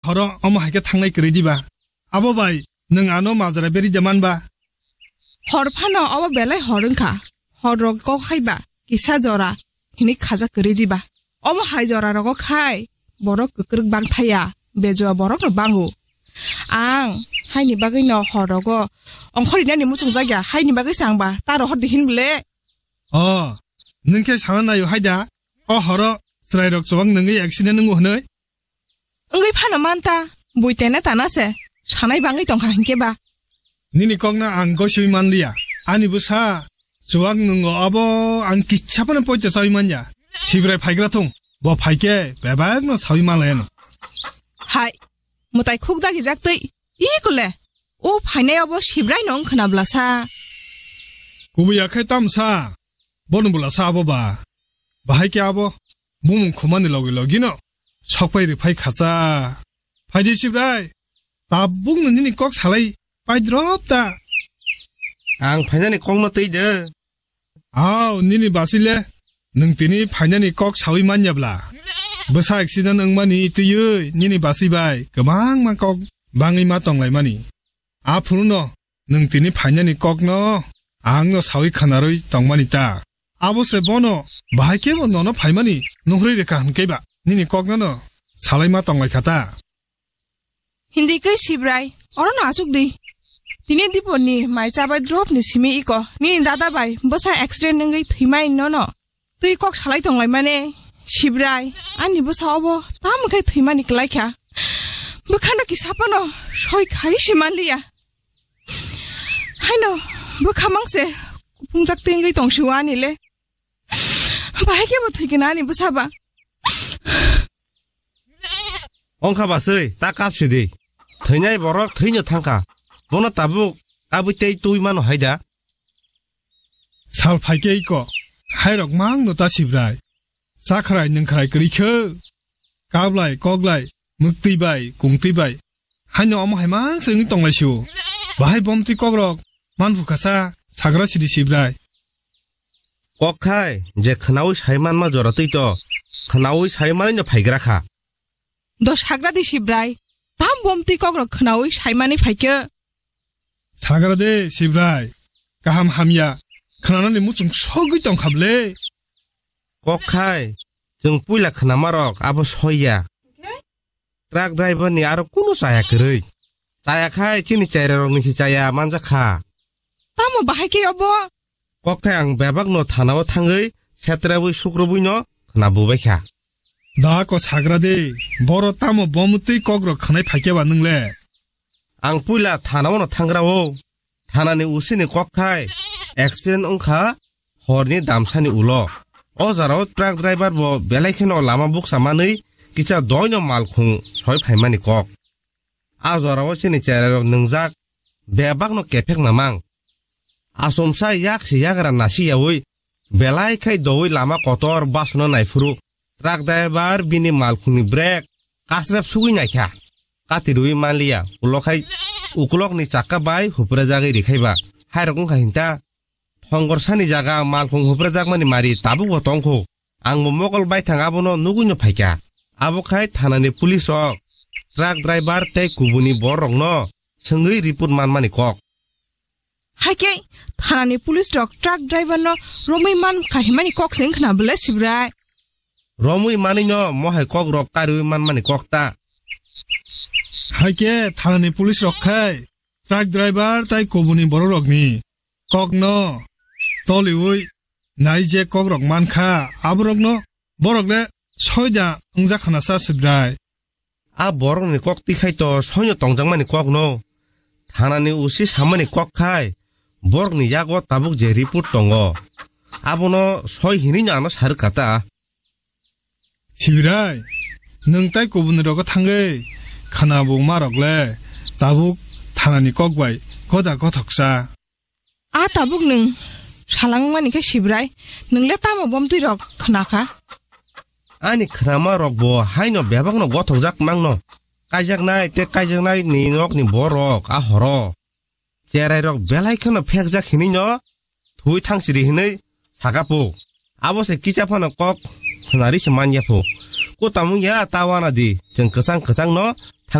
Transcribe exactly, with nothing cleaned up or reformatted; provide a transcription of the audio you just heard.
Horo omo hai khe thangnai kwrwi diba? Abo bai nwng ano majra beri de man ba? Hor phano obo belai hor wngkha. Hor rok kok hai ba kisa jora hini khaja kwrwi diba? Omo hai jora rogo khai borok kwkrwk bang thaya, bejua borok no bango. Ang haini bagwi no hor rogo ongkhor rinani muchung jak ya, haini bagwi se ang ba ta rohor di hin bwle. O, nwng khe sana naio hai da? O horo chwrai rok chubak nwngwi accident wngo hwnwi? Wngwi phano man ta, bui tene tana se, sanai bangwi tongkha hinkhe ba. Nini kokno ang gosiwi man liya. Ani bwsa chuwak nwngo abo ang kisa phano poito chawi man ya. Sibrai phaigra thung, bo phaikhe bebakno sawi man laiano. Hai, mwtai khuk dagi jak twi, i kule, o phainai abo Sibrai no wng khna bwlasa. Kubui ya khai tamsa, bono bwlasa abo ba. Bahai khe abo bumung khumani logi logino sokpai rwphai khacha. Phaidi Sibrai, tabukno nini kok salai paidrop ta. Ang phainani kokno twi de. Aw, nini basile nwng tini phainani kok sawi manya bla? Bwsa accident wngmani twiwi nini basi bai kwbangma kok bangwi ma tonglaimani. Aphuruno nwng tini phainani kokno angno sawi khanarwi tongmani ta. Abo se bono bahai khe bo nono phaimani nuhri rwkha hwnkhe ba nini kokno no salai ma tonglaikha ta. Hindi khe Sibrai, oro no achuk di. Tini dipor ni mai chabai drop ni simi iko nini dada bai bwsa accident wngwi thwimai nono. Twi kok salai tonglai mane, Sibrai, ani bwsa obo tamo khe thwimani kwlai kha. Bwkhano kisa phano soi khai se man liya. Haino bwkha mang se kuphungjak tengwi tong si o ani le. Bahai khe bo thwi khe na ani bwsa ba. Ongkha baswi, ta kap si di. Thwinai borok thwino thangkha. Bono tabuk kabui tei twi mano hai da. Sal phaikhe iko, hairok mangno ta Sibrai. Chakhrai nwngkhrai kwrwi khe. Kablai, koglai, mwktwi bai, kungtwi bai. Haino omo hai mang se wngwi tonglai sio. Bahai bomtwi kokrok manphu kasa sagra sidi Sibrai. Kok khai je khnaui sai manma jora twi to, khnaui sai manwi no phaigra kha. Do sagra di Sibrai, tam bomtwi kokrok khnaui sai manwi phaikhe. Sagra de Sibrai, kaham hamya khnanani muchung sogwi tongkha ble. Kok khai, chwng puila khnama rok abo soiya. Truck driver ni aro kunu chaya kwrwi. Chaya khai chini chaira rok ni si chaya manjak kha. Tamo bahai khe obo? Kok khai ang bebak no thana o thangwi setrabwi sukrubwi no khna bubai kha. Da ko sagra de, boro tamo bomtwi kok rok khnai phaikhe ba nwng le? Ang puila thana o no thangra o. Thanani usini kok khai accident wngkha horni damsani ulo. O jorao truck driver bo belai kheno lama buksa manwi kisa doino malkhung soi phaimani kok. A jorao chini cherairok nwngjak bebakno kephek namang. Achomsa yak se yagra nasi yaui belai khai doui lama kotor basno naiphuru truck driver bini malkhungni brake kasrep sugui naikha. Kati rwi manliya, ulo khai ukulokni chakka bai huprajagwi rikhaiba. Hairok wngkha hinta. Thongor sani jaga malkhung huprajakmani mari tabukbo tongkho. Angbo mokol baithang abono nugwino phaikha. Abo khai thanani police rok truck driver tei kubuni bororokno swngwi report manmani kok. Haikhe thanani police rok truck driver no romwi man kahimani kok se wngkhna bwle Sibrai. Romwi manwino mohai kok rok kariwi manmani kok ta. Haikhe thanani police rok khai truck driver tai kubuni borok rokni kokno toliwi nai je kok rok mankha aborokno borok le soida wngjakkhana sa Sibrai. A borokni kok tikhai to soino tongjakmani kokno. Thanani usi samani kok khai borokni yago tabuk je report tongo. Abono soi hinwino ano sarwk kha ta. Sibrai, nwng tai kubuni rogo thangwi khwna buma rok le tabuk thanani kok bai goda gothoksa. A tabuk nwng salang mani khe Sibrai, nwng le tamo bomtwi rok khna kha? Ani khnama rok bo haino bebakno gothokjak mangno. Kaijaknai tei kaijaknai ni nokni borok a horo. Cherai rok belai kheno phekjak hinwi no thui thangsiri hinwi saka po. Abo se kicha phano kok khwnari se manya pho. Ko tamung ya ta wana di, chwng kwchang kwchang no